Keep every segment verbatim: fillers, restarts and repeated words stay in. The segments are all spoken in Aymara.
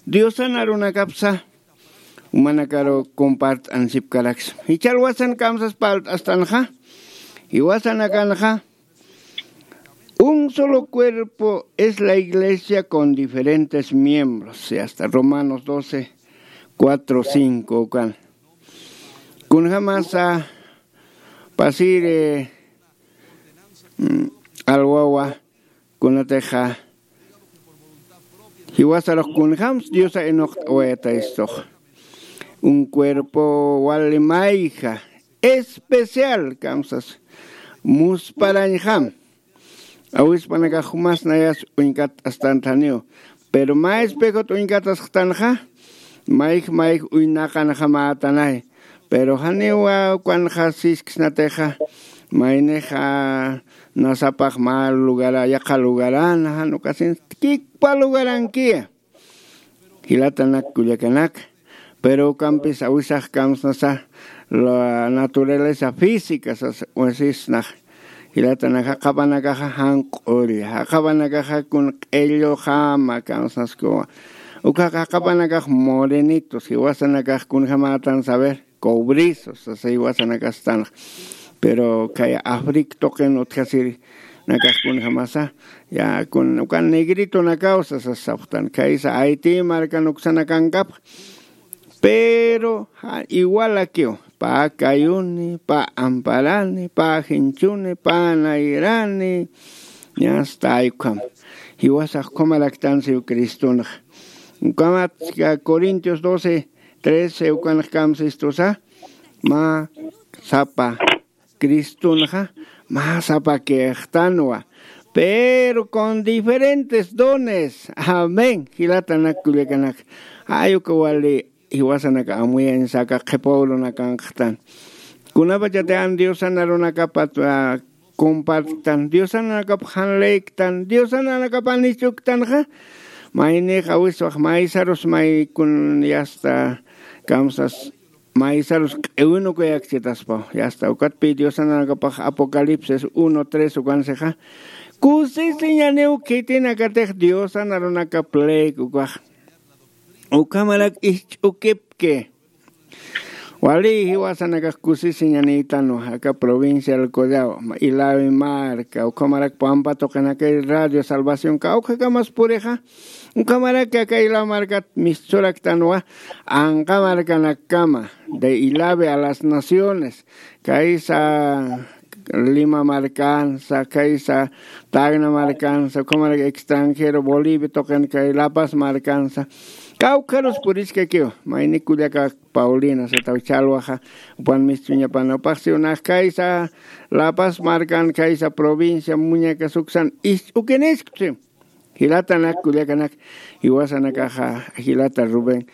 Diosan arunakapsa umanakaru compart'ansipkaraksma. Jichhalwasan kamsas parlt'astanxa, jiwasanakanxa un solo cuerpo es la iglesia con diferentes miembros, y hasta Romanos doce, cuatro, cinco ukan. Kunjamasa pasiri, mm, alwawa kunatixa jiwasarux kunjams Diosa inuqt'awayatayistux. Un cuerpo wali mayja especial kamsas musparañjam. Awispanakax jumas nayas uñkat astantaniw. Pero mä espejot uñkatasxtanxa, mayj mayj uynaqanxamätanay. Pero janiwa ukanxa sisksnatixa, maynixa nasapax mä lugara, yaqha lugarana, jan ukasin kikpa lugarankiya. Jilatanak kullakanak, pero ukampis awisax kamsnasa la naturaleza física sas uñsisnax. Jilatanaka jaqapanakaxa janq'ulla, jaqapanakaxa kun q'illuxama kamsnaskuwa. Ukaxa jaqapanakax morenitos, jiwasanakax kunjamätan saber cobrizos sasa jiwasanakastanx. Pero kay afric tuqin utjasiri nakax kunjamasa, ya kun ukan negritonakaw sasa sapxtan. Kaysa haití markan uksanakankapx, pero ja igualakiw, pä kayuni, pä amparani, pä jinchuni, pä nayrani, ñasta aykham. Jiwasax ukhamaraktansiw cristonxa. Ukamat corintios doce, trece ukanx kamsistusa, mä sapa cristonxa mä sapa kixtanwa, pero con diferentes dones. Amén. Jilatanak kullakanak, jay uka wali jiwasanaka amuyañsaka qhipa urunakanxtan. Kunapachati an diosan arunakapat compartan, diosan arunakap jan leyktan, diosan arunakap anichuktanxa, maynix awiswax maysarus maykun yasta kamsas maysarus q'iwinukuyakchitaspaw. Yasta ukatpi diosan arunakapax apocalipsis uno tres ukansixa, kusisiñaniw khitinakatix diosan arunakap leyk ukax. Ukhamarak ijch'ukipki. Wali jiwasanakax kusisiñanïtanwa aka provincial Collao, Ilawi marka, ukhamarak Pampa tuqinakay Radio Salvación kawkhakamas purixa, ukhamarak aka Ilawi markat mistsuraktanwa, anqa markanakama, de Ilawi a las naciones, kaysa Lima markansa, kaysa Tacna markansa, ukhamarak extranjero Bolivia tuqin kay La Paz markansa, kawkharus puriskakiw, mayni kullaka Paulina sataw chalwaxa, upan mistuñapan upaxsiw nax kaysa La Paz markan, kaysa provincia Muñeca suksan ich'ukiniskchi. Jilatanak kullakanak, jiwasanakaxa jilata Rubén,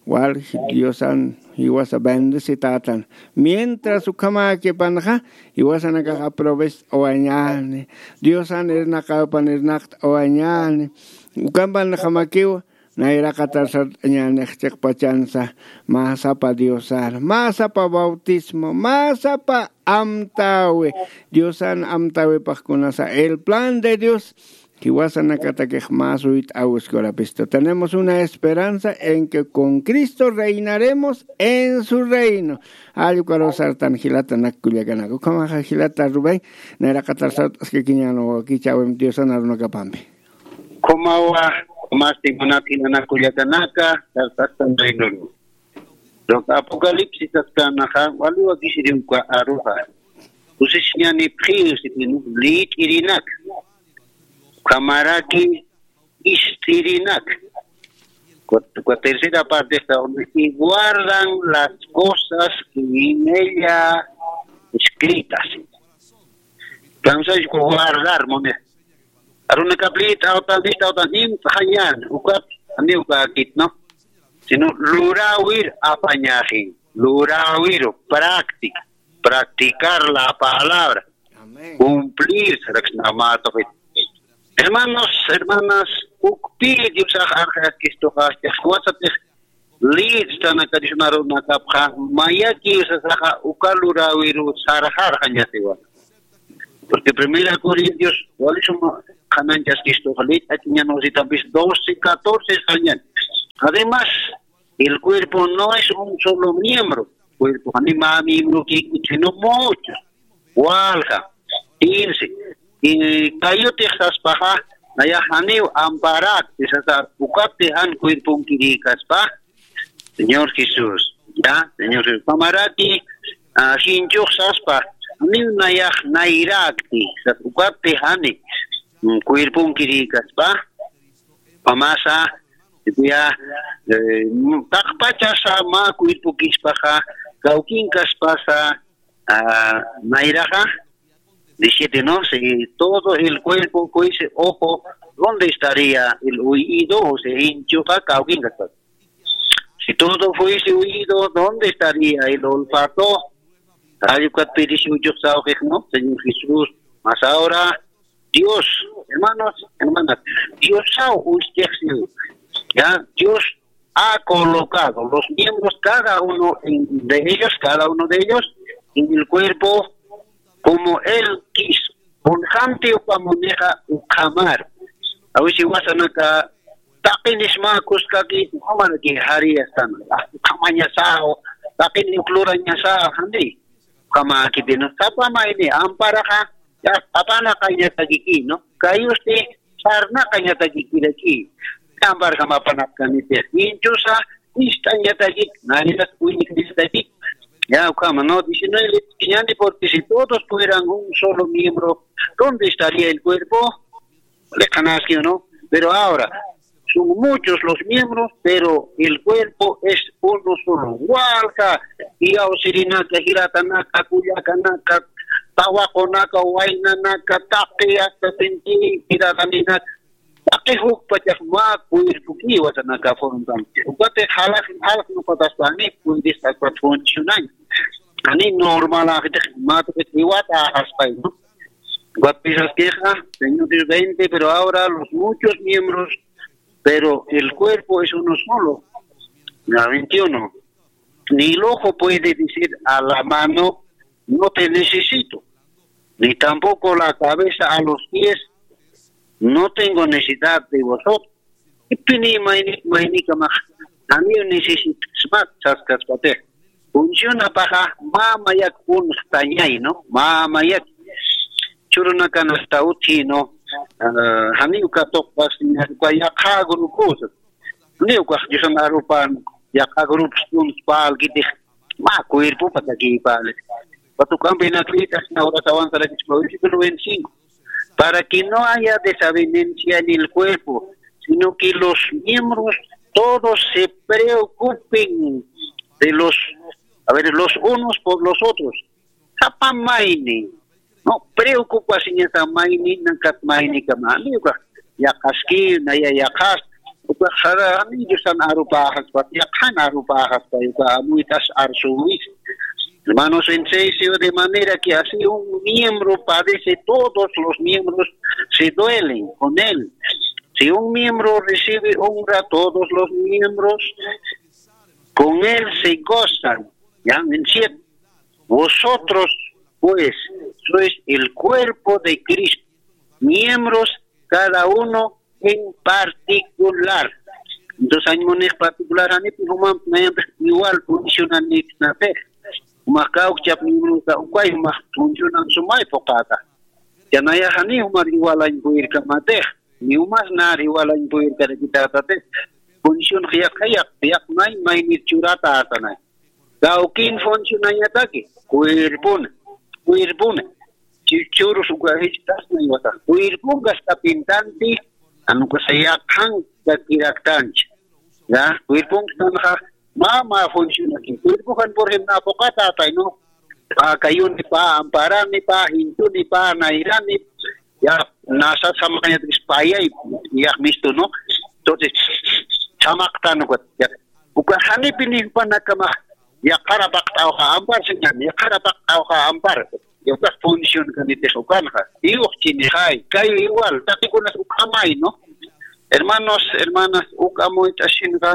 wal diosan jiwasa bendecitätan. Mientras ukhamäkipanxa, jiwasanakax aprovech'awañäni, diosan irnaqapan irnaqt'awañäni. Ukampanxamakiw nayraqatar sart'añänix chiqpachansa, mä sapa diosar, mä sapa bautismo, mä sapa amtäwi, diosan amtäwipax kunasa el plan de Dios. Jiwasanakatakix mä suyt'awiskurapista. Tenemos una esperanza en que con Cristo reinaremos en su reino. Allkukaru sartan jilatanak kullakanak. Ukhamaxa jilata Rubén, nayraqatar sart'askakiñäni wakichäwim diosan arunakapampi. Ukhamawa, masti munat jilata kullakanaka, sartastan reinuru. Uka Apocalipsis saskanaxa, wali wakisiri uka aruxa. Kusisiñanipxiw sipinu, lït'irinak. Ukhamaraki ist'irinak. Uka, uka tercera parte está donde, "Y guardan las cosas que en ella escritas". Kamsayku guardar, muni. Arunakap lït'awtan, lït'awtan, nimt'añän, ukat, ani ukakit, ¿no? Sino luräwir apañäxi, luräwiru, práctica, practicar la palabra, amén, cumplir, saraksnamatoqit. Hermanos, hermanas, ukpi Diosax arxayaskistuxa, jiwasatix lït'stanaka Diosnarunakapxa, mayakiw sasaxa, uka luräwiru sarxarxañatiwa. Porque Primera Corintios, wali suma qhananchaskistuxa, lït'akiñän wasitampis doce catorce sañan. Además, el cuerpo no es un solo miembro. Cuerpo, ni más miembro que, sino muchos. Walja, irse. Y kayutix saspaxa, naya janiw amparak, sasa, ukapti jan cuerpon kirikaspa. Señor Jesús, ya, Señor Jesús. Pamaraki, ah, jinchux saspa, janiw nayax nayrakti, sas, ukapti jani, mm, cuerpon kirikaspa. Pamasa, ya, eh, taqpachasa mä cuerpo kispaxa, kawkin kaspasa, ah, mayraxa, diecisiete, ¿no? Si todo el cuerpo fuese ojo, ¿dónde estaría el oído? O sea, hinchuqa kawkin kaspa. Si todo fuese oído, ¿dónde estaría el olfato? Ay, ukat pidisi uchux sawqix, ¿no? Señor Jesús, mas ahora Dios, hermanos, hermanas, Dios saw ustedes, ya, Dios ha colocado los miembros, cada uno en- de ellos, cada uno de ellos, en el cuerpo como él quiso. Puljanti upamunixa ukhamar. Awisi wasanaka, taqinisma kuskaki, ukamaraki jari astan. Ukhamañasaw, taqini uklurañasaw, jandi. Ukamakipino, sapa mayni, amparaxa, ya, apanaqañatakiki, ¿no? Kayusti, sarnaqañatakikiraki. Amparjam apanaqkaniti. Hinchusa, ist'añatakik, narinas uñikañatakik. Ya, ukhama, ¿no? Diecinueve, ñani, porque si todos fueran un solo miembro, ¿dónde estaría el cuerpo? Le canasque, ¿no? Pero ahora, son muchos los miembros, pero el cuerpo es uno solo. Walja, iyawsirinaka, jiratanaka, kullakanaka, tawaqunaka, waynanaka, taqi, hasta sentini, jirataninaka, taqi jukpachax mä cuerpo kiwasanaka forman. Ukati jalaq, jalaq nuqataspani, puedes, akwat funcionan. Ani normal ajitix, mä tuqit iwata ajaspay, ¿no? Ukat pisaskixa, Señor Dios veinte, pero ahora los muchos miembros, pero el cuerpo es uno solo. La veintiuno. Ni el ojo puede decir a la mano, "No te necesito", ni tampoco la cabeza a los pies, "No tengo necesidad de vosotros". Ipini mayni, maynikamax, janiw necesitasmat saskaspatix. Funcionapaxa, mamayak unxtañay, ¿no? Mamayak. Churunakan hasta utji, ¿no? Ah, janiw katuqpas, uka yaqha grupos. Janiw ukax Diosan arupan, yaqha grupos, unspal, kitix, mä cuerpo patakipal. Patukampi nakritas, ahora avanzar aquí, versículo veinticinco. Para que no haya desavenencia en el cuerpo, sino que los miembros todos se preocupen de los, a ver, los unos por los otros. Sapa mayni, ¿no? Preocupasiñasa mayni, nakat maynikama. Ukax yaqhaski, naya yaqhas, ukax sara, ani Diosan arupaxaspa, yaqhan arupaxaspa, uka amuytas arsuwis. Hermanos, en serio, de manera que así un miembro padece, todos los miembros se duelen con él. Si un miembro recibe honra, todos los miembros con él se gozan. Ya, en siete. Vosotros, pues, sois el cuerpo de Cristo, miembros cada uno en particular. Entonces, añmunix particular, janipi juman, nayampix igual funcionan nipis napix. Jumax kawkchap miembrosa ukay jumax funcionan sumay phuqata. Yanaya jani jumar igual añpuyirkamatix. Ni umas nar igual añpuyirkarakitatatix. Función yaqha yaq, yaq may, maynir churata atanay. Kawkin funcionañataki, cuerpona, cuerpona. Chi-, churus uka jichhasna iwata. Cuerponka está pintanti, anukasa yaqhan kakiraktancha. Ya, cuerponka tanxa, mama funcionaki. Cuerpokan, por ejemplo, apokata atay, ¿no? Pa kayuni, pa amparani, pa jintuni, pa nayrani, ya, nasa samakañatis payay, ya, mistu, ¿no? Entonces, samaktan, ya. Uka janipi nipanakama, ya, qara paqt'awxa ampar, señal, ya, qara paqt'awxa ampar. Ya, uka función kanitix ukanxa. Iyux chinixay, kay igual, taqikunas ukhamay, ¿no? Hermanos, hermanas, ukhamuyt'asinxa,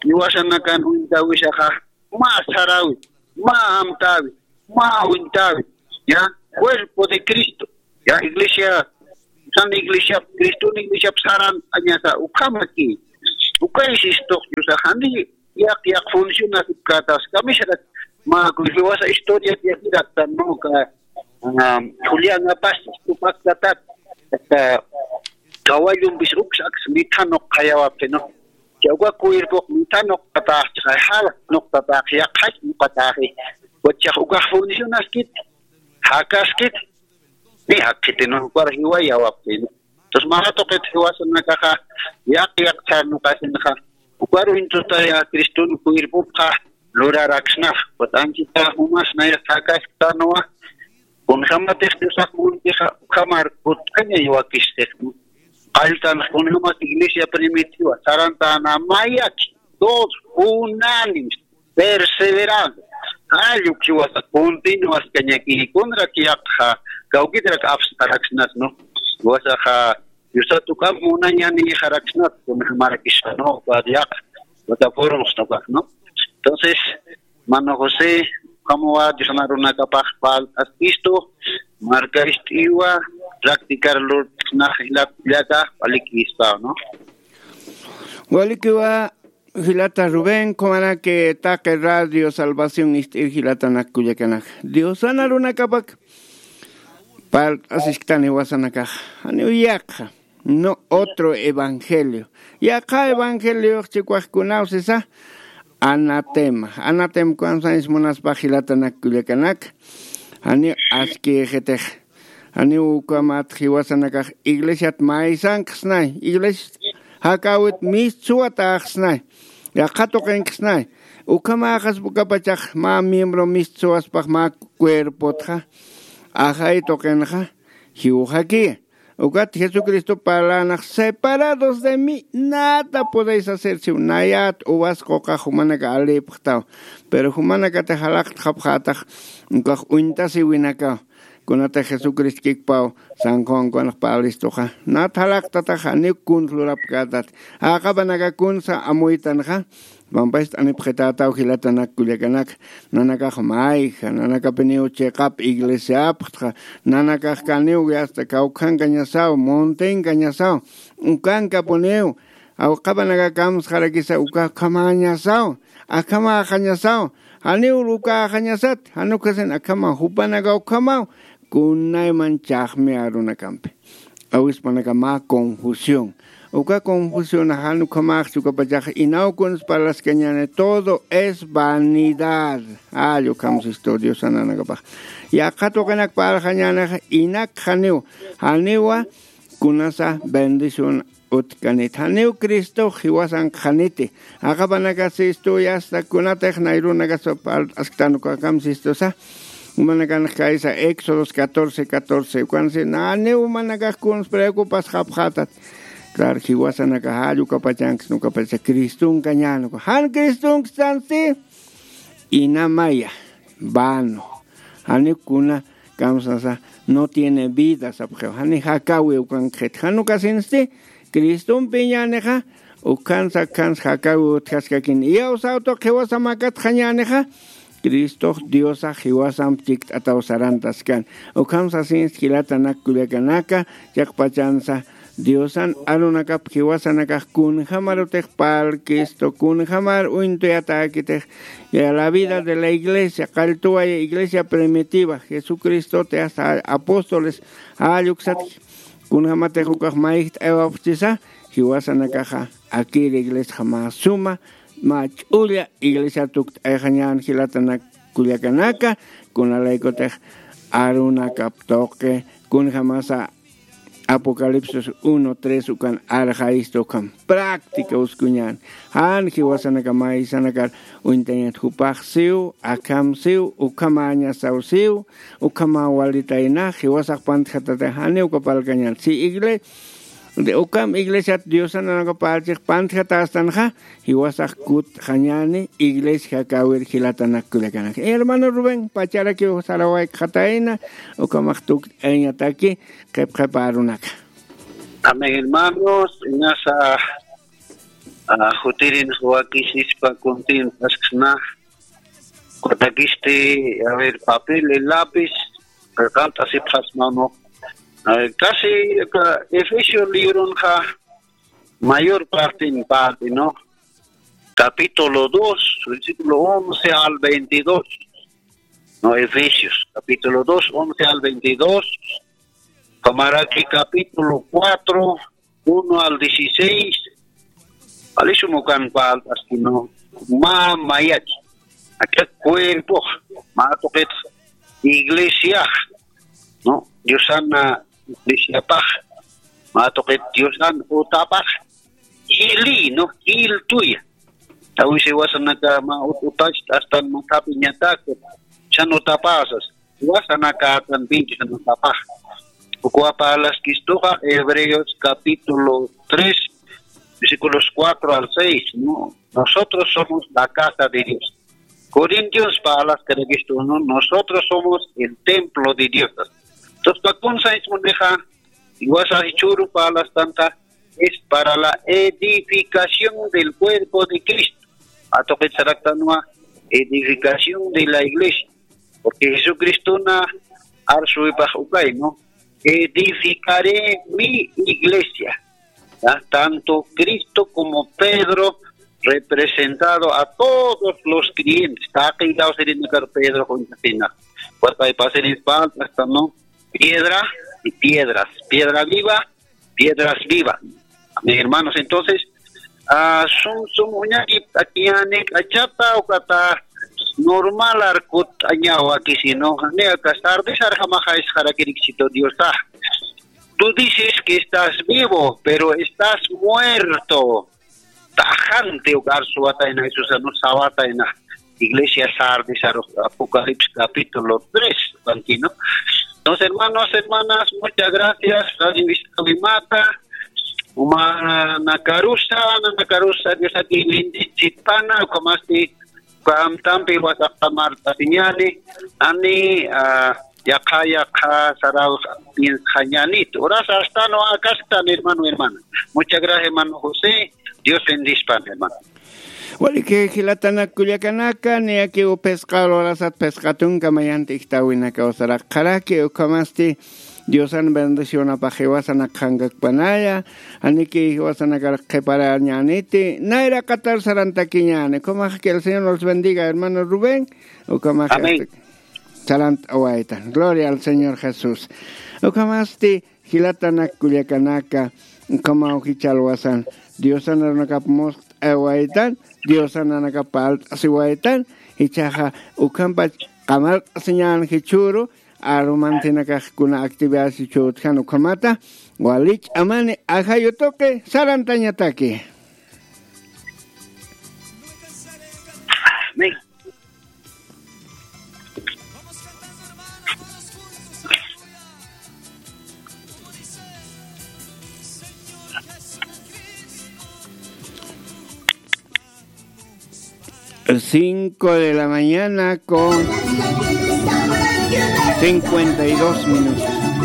iwasanakan uñtawisaxa, mä sarawi, mä amtawi, mä uñtawi, ya, cuerpo de Cristo, ya, iglesia, san iglesia, Cristo iglesia saran añasa, ukhamaki, Uka insistoq, yusaxani yaq yaq funcionasipkätas kamisharak mä jiwasa historia tiyakiraktan, ¿no? Uka, ah, Julián Apas tupaktatak, aka kawallumpis uksaks mithanuq khayawapxi, ¿no? Chawka cuerpoq mithanuqtatax, chaqay jal nuqtatax, yaqhach nuqataxi. Wachax ukax funcionaskit, jakaskit, ni jakkhiti, ¿no? Ukar jiwayawapxi, ¿no? Entonces, mä tuqit jiwasanakaxa yaq yaq sarnuqasinxa, ukar uñtutaya Cristun cuerpopxa luraraksnax, wat'ankita jumas nayas jakasktanwa, kunjamatix Diosax muntixa ukhamar kut'añay wakistix, ¿no? Qalltanx kunjamat iglesia primitiva, sarantana mayaki, todos unánimes, perseverante. Jall uk jiwasa continuaskañaki, kunrak yaqxa, kawkitrak apsxaraksnat, ¿no? Jiwasaxa, Diosat ukham munañaniyxaraksnat, kunjamarakispa, ¿no? Uka yaq, plataformas, ¿no? Entonces, mano José, ukhamawa Diosan arunakapax falt'askistu, markayt'iwa, practicar lurt'snax jilata kullaka, walikispa, ¿no? Walikiwa, jilata Rubén, kumaraki taqi Radio Salvación ist'ir jilatanak kullakanak. Diosan arunakapak parlt'asisktan jiwasanakax. Janiw yaqha, no otro evangelio. Yaqha evangeliox chikwajkunaw sisa, anatema. Anatema kunasañs munaspa jilatanak kullakanak. Janiw askïxitix. Janiw ukhamat jiwasanakax iglesiat maysanksnay, iglesia jakäwit mistsuwataxsnay, yaqha tuqinksnay. Ukhamaxaspa ukapachax mä miembro mistsuwaspax mä cuerpotxa, ajay tuqinxa, jiwxakiya. Ukat Jesucristo parlanax, separados de mí, nada podéis hacer, siw nayat uvas quqax jumanaka alipxtaw, pero jumanakatix jalaqtxapxätax, ukax uñtasiwinakaw. Kunatix Jesucristo kikpaw, San Juan kunx parlistuxa, nat jalaqtataxa, janiw kuns lurapkätat. Jaqapanaka kunsa amuytanxa, pampast'anipxitätaw jilatanak kullakanak, nanakax mayja, nanakapiniw chiqap iglesiapxtxa, nanakax kaniw yasta kawkhankañasaw, montenkañasaw, ukankapuniw, jaqapanaka kamsxarakisa uka ukhamañasaw, akhamaxañasaw, janiw uka ukhamañasat, jan ukhasin akhama, jupanaka ukhamaw, kunayman chhaxmi arunakampi. Awispanaka mä confusión. Uka confusión jan ukhamax ukapachax inaw kuns parlaskañäni, todo es vanidad. Jall ukham sistu Diosan arunakapax. Yaqha tuqinak parlxañänixa, inak janiw, janiwa, kunasa bendición utjkanit. Janiw Cristox jiwasankxaniti. Jaqapanaka sistu yasta kunatix nay arunakas parlt'asktan uka ukham sistusa. Jumanakanx kaysa Éxodos catorce catorce. Ukan si naniw jumanakax kuns preocupasxapxätat. Claro, jiwasanaka jall ukapachanksna ukapacha Cristonkañäni uka. Jan Cristonkstan si. Inamaya, vano. Janiw kuna kamsasa, no tiene vida, sapxiw. Jani jakäwi ukankxit. Jan ukasinsti, Cristompiñänixa, ukhansa, ukhansa jakäwi utjaskakin. Iyawsaw tuq jiwasa makatxañänixa, Cristox Diosax jiwasamp chikt'ataw sarantaskan. Ukham sasinsti jilatanak kullakanaka, chiqpachansa, Diosan arunakap jiwasanakax kunjamarutix parlkistu, kunjamar uñtuyatäkitix, ya la vida de la iglesia, qalltuwaya iglesia primitiva, Jesucristote hasta apóstoles, jall uksatki, kunjamatix ukax mayjt'aywapxchisa, jiwasanakaxa, akir iglesiaxa mä suma, mä ch'ulla iglesia tukt'ayxañän jilatanak kullakanaka, kunalaykutix arunakap tuqi, kunjamasa Apocalipsis uno tres ukan arxayista ukham práctica uskuñän. Jan jiwasanaka maysanakar uñtañat jupax siw, akham siw, ukhamañasaw siw, ukhama walitayna, jiwasax pantjatata, jani uka parlkañän. Si igle-, de ukham iglesiat Diosan arunakap parlchix pantjatästanxa, jiwasax kutxañäni, iglesia jakäwir jilatanak kullakanak. Hermano Rubén, pacharakiw sarawaykxatayna, ukhamax tukt'ayañataki, qhipqhipa arunaka. Amén, hermanos. Inasa, ah, jutirin wakisispa kuntin asksna. Kutakisti, a ver, papel, el lápiz, qillqant'asipxasma, ¿no? A ver, casi, aka Efesio libronxa, Mayor parte en parte, ¿no? Capítulo dos, versículo once al veintidós. No, Efesios, capítulo dos, once al veintidós. Kamaraki capítulo cuatro, uno al dieciséis. Alisumukan paltas, sino ma mayach. Aka cuerpo, ma tuqit iglesia, ¿no? Diosana iglesiapax, ma tuqit Diosan utapax, jili, ¿no? Jil tuya. Tawisi wasanaka ma ut-, utach, astan ma tapiñatak, chan utapasas. Wasanaka atan pinti san utapax. Ukwa parlaskistuxa Hebreos capítulo tres, versículos cuatro al seis, ¿no? Nosotros somos la casa de Dios. Corintios parlaskarakistun, ¿no? Nosotros somos el templo de Dios. Entonces, pa kunsa ismunixa, iwasa jichhüru parlastanta, es para la edificación del cuerpo de Cristo. Atuqit saraktanwa, edificación de la iglesia. Porque Jesucristona arsuwipax ukay, ¿no? Edificaré mi iglesia. ¿Ya? Tanto Cristo como Pedro representado a todos los creyentes. Taqi law sirinakar Pedro juntasina. Cuatro hay pasajes falta, ¿no? Piedra y piedras. Piedra viva, piedras vivas. Amén, hermanos. Entonces, ah, sum, sum, uñaki, akiñani, kachata, ukata, normal, arkut, añawa, kisino, ne, aka, sardis, arjamaja, es, jarakirik, sito, Dios, ah. Tú dices que estás vivo, pero estás muerto. Tajante uka arsuwatayna, Jesusa, ¿no? Sawatayna. Iglesia Sardis, aru-, Apocalipsis capítulo tres, ¿no? Entonces, hermanos, hermanas, muchas gracias. Radio Vista Wimata, uma nakarusa, nakarusa, Dios aquí bendice, pana, como así, Kamtampi wasaqtamar tasiñani, ani, ah, yaqha, yaqha, saraw, piensqañanit. Horas hasta no acastan, hermano, hermana. Muchas gracias, hermano José. Dios bendispan, hermano. Waliki jilatanak kullakanaka, niyakiw phisqa lurasat phisqa tunka mayanti ijtawinaka usaraq qharaki, ukhamasti Diosan bendicionapax jiwasanak qhankakpanaya, aniki jiwasanakar qhiparañaniti, nayra qatar sarantakiñani. Ukhamax que el Señor nos bendiga, hermano Rubén. Ukhamax Amén. Sarantawaytan. Gloria al Señor Jesús. Ukhamasti jilatanak kullakanaka, ukhamaw jichhalwasan. Diosan arunakap must'awaytan, Diosan arunakap palt'asiwaytan, jichhaxa ukhampach qamart'asiñan jichhüru, arumantinakax kuna actividad jichhüru utjan ukhamata, wali ch'amani ajayu tuqi sarantañataki. Amén. Cinco de la mañana con cincuenta y dos minutos.